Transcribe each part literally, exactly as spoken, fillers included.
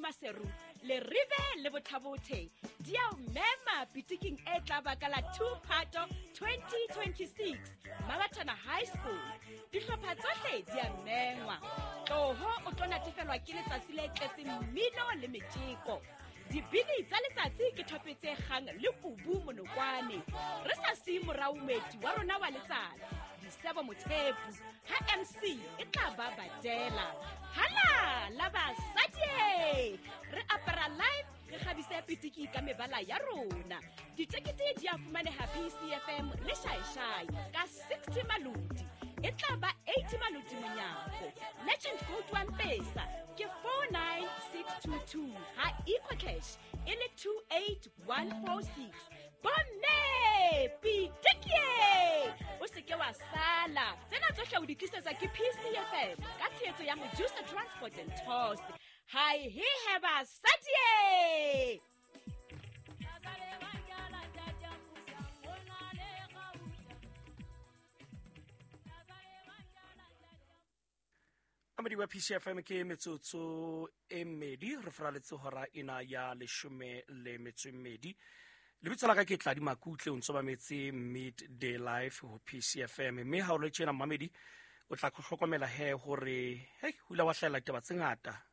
Maseru, Leribe le Botha-Bothe di a o mema pitiking e tla ba ka la two Phato twenty twenty-six Mabatana High School. Dihlopha tsohle di a mengwa. Tloho o tlo natefelwa ke letsatsi le tletseng mmino le metjeko. Dibini tsa letsatsi ke thope tse kgang le kubu monokwane. Re sa siye morao moeti wa rona wa letsatsi, Disebo Mothepu, ha M C e tla ba badela. Hala la basadi! Re apara live, re kgabise pitiki ka mebala ya rona. Ditekete di a fumaneha P C F M le Shaishai ka sixty maloti. E tla ba eighty maloti monyako. Legend code wa Mpesa ke four nine six two two, ha EcoCash e le two eight one four six. Bomme pitiki! O se ke wa sala. Tsena tsohle o di tlisetsa ke P C F M ka tshehetso ya Mojusa Transport and Tours. Hi he he basadi! Amadi wa P C F M ke metsotso e mmedi re fraletse hora ena ya leshome le metso e mmedi. Lebitso la ka ke Tladi Makutle, o ntso mametse Midday Life ho P C F M. Mme ha o le tjena mamedi o tla hlokomela he hore hei ho ile wa hlahella ditaba tse ngata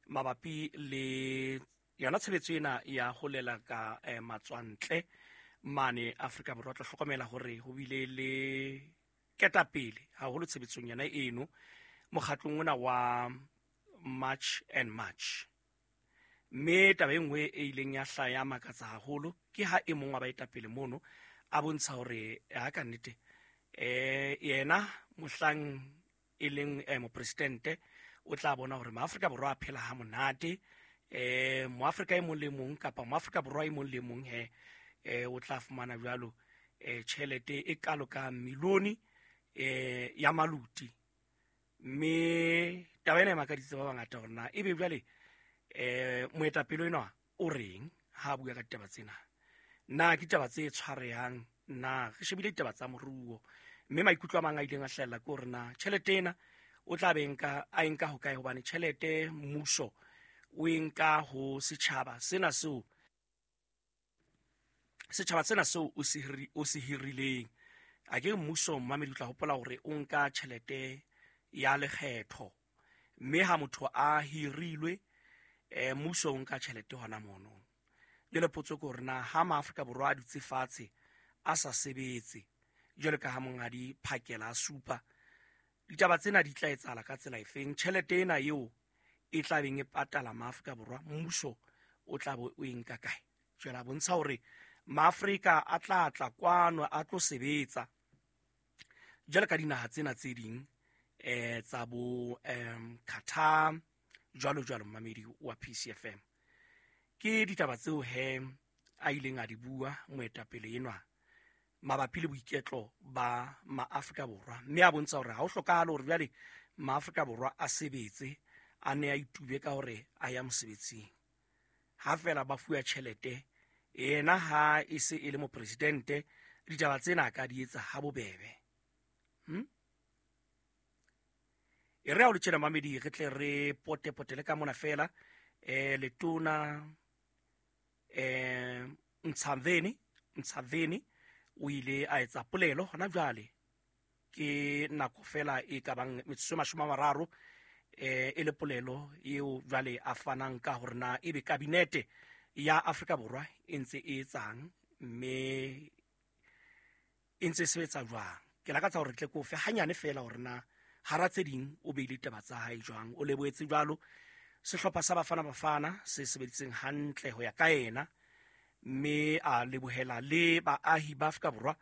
mabapi le yona tshebetso ena ya ho lela ka, eh, matswantle mane Afrika Borwa. O tla hlokomela hore ho bile le ketapele haholo tshebetsong yona eno mokgatlong ona wa March and March. Mme taba e nngwe e ileng ya hlaha ya makatsa haholo ke ha e mong wa baetapele mono a bontsha hore ha ka nnete, eh, yena mohlang e leng, eh, mopresidente o tla bona hore maAfrika Borwa a phela ha monate, eh, moAfrika e mong le mong kapa moAfrika Borwa e mong le mong he, eh, o tla fumana jwalo, eh, tjhelete e kalo ka milione, eh, ya maluti. Mme taba ena e makaditse ba bangata hore na ebe jwale, eh, moetapele enwa o reng ha a bua ka ditaba tsena. Na ke ditaba tse tshwarehang? Na re shebile ditaba tsa moruo? Mme maikutlo a mang a ileng a hlahella ke hore na tjhelete ena o tla be nka, a e nka hokae, hobane tjhelete mmuso o e nka ho setjhaba sena seo, setjhaba sena seo o se hiri-, o se hirileng. A ke mmuso mmamedi o tla hopola hore o nka tjhelete ya lekgetho, mme ha motho a hirilwe, eh, mmuso o nka tjhelete hona mono. Jwale potso ke hore na ha maAfrika Borwa a dutse fatshe a sa sebetse jwalo ka ha monghadi Phakela a supa, ditaba tsena di tla etsahala ka tsela efeng? Tjhelete ena eo e tla beng e patala maAfrika Borwa, mmuso o tla bo o e nka kae? Jwale a bontsha hore maAfrika a tla tla kwano a tlo sebetsa jwalo ka dinaha tsena tse ding, eh, tsa bo, em, Qatar jwalo jwalo. Mmamedi wa P C F M, ke ditaba tseo he a ileng a di bua moetapele enwa mabapi le boiketlo ba maAfrika Borwa, mme a bontsha hore ha ho hlokahale hore jwale maAfrika Borwa a sebetse, a ne a itube ka hore a ya mosebetsing. Ha fela ba fuwa tjhelete, yena ha e se e le mopresidente, ditaba tsena a ka di etsa ha bobebe. Hmm? E re ha o le tjena mamedi, re tle re pote-potele ka mona fela, eh, letona, eh, Ntshavheni, Ntshavheni o ile a etsa polelo hona jwale, ke nako fela e ka bang metsotso e mashome a mararo, eh, e le polelo eo jwale a fanang ka hore na ebe kabinete ya Afrika Borwa e ntse e etsang, mme e ntse e sebetsa jwang. Ke lakatsa hore tle ke o fe hanyane fela hore na hara tse ding o beile ditaba tsa hae jwang. O lebohetse jwalo sehlopha sa Bafana Bafana se sebeditseng hantle ho ya ka yena, mme a lebohela le baahi ba Afrika Borwa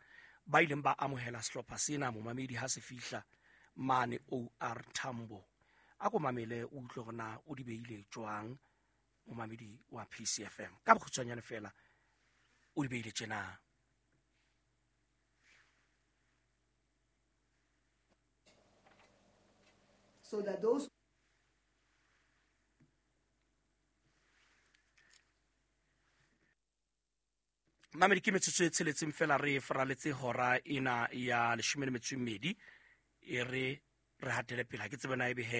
ba ileng ba amohela sehlopha sena momamedi ha se fihla mane O R Tambo. A ko mamele o utlwe hore na o di beile jwang momamedi wa P C F M. Ka bokgutshwanyane fela o di beile tjena. So that those Mamedi, ke metsotso e tsheletseng fela re faraletse hora ena ya leshome le metso e mmedi, e re re hatele pele. Ha ke tsebe na ebe he